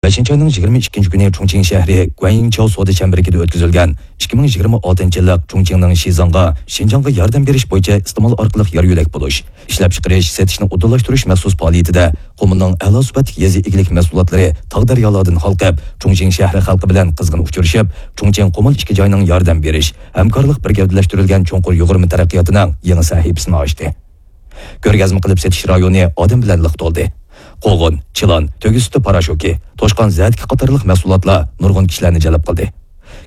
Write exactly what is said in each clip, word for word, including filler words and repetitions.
بەشىنچى ئاينىڭ يىگىرمە ئىككىنچى كۈنى چۇڭچىڭ شەھىرى گۇەنيىڭچاۋ سودا چەمبىرىكىدە ئۆتكۈزۈلگەن ئىككى مىڭ يىگىرمە ئالتىنچى يىللىق چۇڭچىڭنىڭ شىزاڭغا، شىنجاڭغا ياردەم بېرىش بويىچە ئىستېمال ئارقىلىق يار يۆلەك بولۇش، ئىشلەپچىقىرىش، سېتىشنى ئۇدۇللاشتۇرۇش مەخسۇس پائالىيىتىدە قۇمۇلنىڭ ئەلا سۈپەتلىك يېزا ئىگىلىك مەھسۇلاتلىرى تاغ دەريالاردىن ھالقىپ، چۇڭچىڭ شەھىرى خەلقى بىلەن قىزغىن ئۇچرىشىپ، چۇڭچىڭ قۇمۇل ئىككى جاينىڭ ياردەم بېرىش، ھەمكارلىق بىر گەۋدىلەشتۈرۈلگەن چوڭقۇر يۇغۇرما تەرەققىياتىنىڭ يېڭى سەھىپىسىنى ئاچتى. كۆرگەزمە قىلىپ سېتىش رايونى ئادەم بىلەن لىق تولدى. قوغۇن، چىلان، تۆگە سۈتى پاراشوكى، توشقان زەتىكى قاتارلىق مەھسۇلاتلار نۇرغۇن كىشىلەرنى جەلپ قىلدى.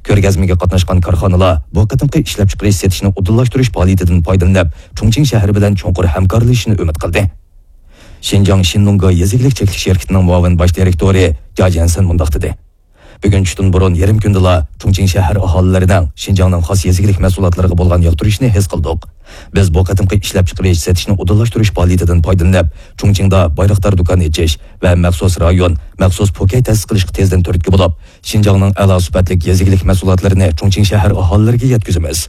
كۆرگەزمىگە قاتناشقان كارخانىلار بۇ قېتىمقى ئىشلەپچىقىرىش سېتىشنى ئۇدۇللاشتۇرۇش پائالىيىتىدىن پايدىلىنىپ، چۇڭچىڭ شەھىرى بىلەن چوڭقۇر ھەمكارلىشىشنى ئۈمىد قىلدى. شىنجاڭ شىنلۇڭگا يېزا ئىگىلىك چەكلىك شىركىتىنىڭ مۇئاۋىن باش دىرېكتورى جيا جيەنسەن مۇنداق دېدى. بۈگۈن چۈشتىن بۇرۇن يېرىم كۈندىلا چۇڭچىڭ شەھەر ئاھالىلىرىنىڭ شىنجاڭنىڭ خاس يېزا ئىگىلىك مەھسۇلاتلىرىغا بولغان ياقتۇرۇشىنى ھېس قىلدۇق. بىز بۇ قېتىمقى ئىشلەپچىقىرىش سېتىشنى ئۇدۇللاشتۇرۇش پائالىيىتىدىن پايدىلىنىپ، چۇڭچىڭدا بايراقدار دۇكان ئېچىش ۋە مەخسۇس رايون، مەخسۇس پوكەي تەسىس قىلىشقا تېزدىن تۈرتكە بولۇپ، شىنجاڭنىڭ ئەلا سۈپەتلىك يېزا ئىگىلىك مەھسۇلاتلىرىنى چۇڭچىڭ شەھەر ئاھالىلىرىگە يەتكۈزىمىز.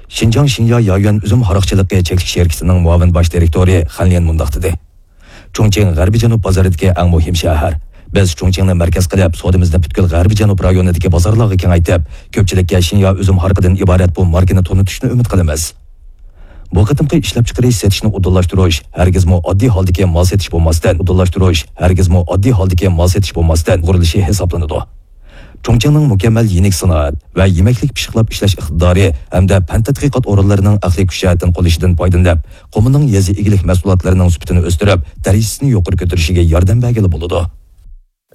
شىنجاڭ شىنيا يايۈەن ئۈزۈم ھاراقچىلىقى چەكلىك شىركىتىنىڭ مۇئاۋىن باش دىرېكتورى خەن ليەن مۇنداق دېدى. چۇڭچىڭ غەربىي جەنۇب بازىرىدىكى ئەڭ مۇھىم شەھەر. بىز چۇڭچىڭنى مەركەز قىلىپ، سودىمىزنى پۈتكۈل غەربىي جەنۇب رايونىدىكى بازارلارغا كېڭەيتىپ، كۆپچىلىككە شىنيا ئۈزۈم ھارىقىدىن ئىبارەت بۇ ماركىنى تونۇتۇشنى ئۈمىد قىلىمىز. بۇ قېتىمقى ئىشلەپچىقىرىش سېتىشنى ئۇدۇللاشتۇرۇش ھەرگىزمۇ ئاددىي ھالدىكى مال سېتىش بولماستىن، ئۇدۇللاشتۇرۇش ھەرگىزمۇ ئاددىي ھالدىكى مال سېتىش بولماستىن قۇرۇلۇشى ھېسابلىنىدۇ. چۇڭچىڭنىڭ مۇكەممەل يېنىك سانائەت ۋە يېمەكلىك پىششىقلاپ ئىشلەش ئىقتىدارى ھەمدە پەن تەتقىقات ئورۇنلىرىنىڭ ئەقلىي كۈچ جەھەتتىن قوللىشىدىن پايدىلىنىپ، قۇمۇلنىڭ يېزا ئىگىلىك مەھسۇلاتلىرىنىڭ سۈپىتىنى ئۆستۈرۈپ، دەرىجىسىنى يۇقىرى كۆتۈرۈشىگە ياردەم بەرگىلى بولىدۇ.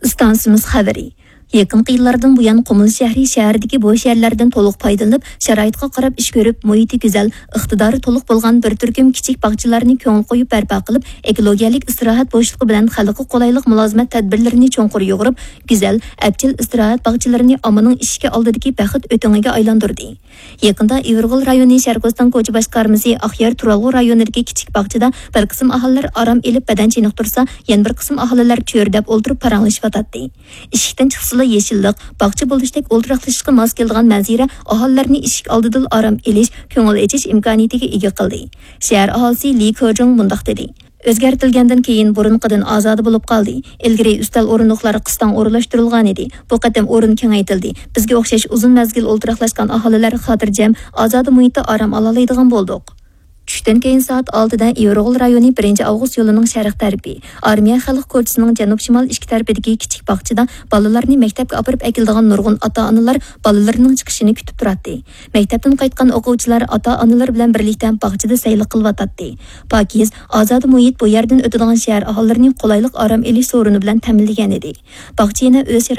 ئىستانسىمىز خەۋىرى. يېقىنقى يىللاردىن بۇيان، قۇمۇل شەھىرى شەھەردىكى بوش يەرلەردىن تولۇق پايدىلىنىپ، شارائىتقا قاراپ ئىش كۆرۈپ، مۇھىتى گۈزەل، ئىقتىدارى تولۇق بولغان بىر تۈركۈم كىچىك باغچىلارنى كۆڭۈل قويۇپ بەرپا قىلىپ، ئېكولوگىيەلىك ئىستىراھەت بوشلۇقى بىلەن خەلققە قولايلىق مۇلازىمەت تەدبىرلىرىنى چوڭقۇر يۇغۇرۇپ، گۈزەل، ئەپچىل ئىستىراھەت باغچىلىرىنى ئاممىنىڭ ئىشىكى ئالدىدىكى بەخت ئۆتۈڭىگە ئايلاندۇردى. يېقىندا ئىۋىرغول رايونى شەرقىستان كوچا باشقارمىسى ئاقيار تۇرالغۇ رايونىدىكى كىچىك باغچىدا بىر قىسىم ئاھالىلەر ئارام ئېلىپ بەدەن چېنىقتۇرسا، يەنە بىر قىسىم ئاھالىلەر چۆرىدەپ ئولتۇرۇپ پاراڭلىشىۋاتاتتى. ئىشىكتىن چىقسىلا يېشىللىق، باغچە بولۇشتەك ئولتۇراقلىشىشقا ماس كېلىدىغان مەنزىرە ئاھالىلەرنى ئىشىك ئالدىدىلا ئارام ئېلىش، كۆڭۈل ئېچىش ئىمكانىيىتىگە ئىگە قىلدى. شەھەر ئاھالىسى لى كېجۇڭ مۇنداق دېدى. ئۆزگەرتىلگەندىن كېيىن بۇرۇنقىدىن ئازادە بولۇپ قالدى. ئىلگىرى ئۈستەل ئورۇندۇقلار قىستاڭ ئورۇنلاشتۇرۇلغانىدى. بۇ قېتىم ئورۇن كېڭەيتىلدى. بىزگە ئوخشاش ئۇزۇن مەزگىل ئولتۇراقلاشقان ئاھالىلەر خاتىرجەم، ئازادە مۇھىتتا ئارام ئالالايدىغان بولدۇق. چۈشتىن كېيىن سائەت ئالتىدە ئىۋىرغول رايونى بىرىنچى ئاۋغۇست يولىنىڭ شەرق تەرىپى، ئارمىيە خەلق كوچىسىنىڭ جەنۇب-شىمال ئىككى تەرىپىدىكى كىچىك باغچىدا بالىلارنى مەكتەپكە ئاپىرىپ ئەكېلىدىغان نۇرغۇن ئاتا-ئانىلار بالىلىرىنىڭ چىقىشىنى كۈتۈپ تۇراتتى. مەكتەپتىن قايتقان ئوقۇغۇچىلار ئاتا-ئانىلىرى بىلەن بىرلىكتە باغچىدا سەيلە قىلىۋاتاتتى. پاكىز، ئازادە مۇھىت بۇ يەردىن ئۆتىدىغان شەھەر ئاھالىلىرىنى قولايلىق ئارام ئېلىش سورۇنى بىلەن تەمىنلىگەنىدى. باغچە يەنە ئۆز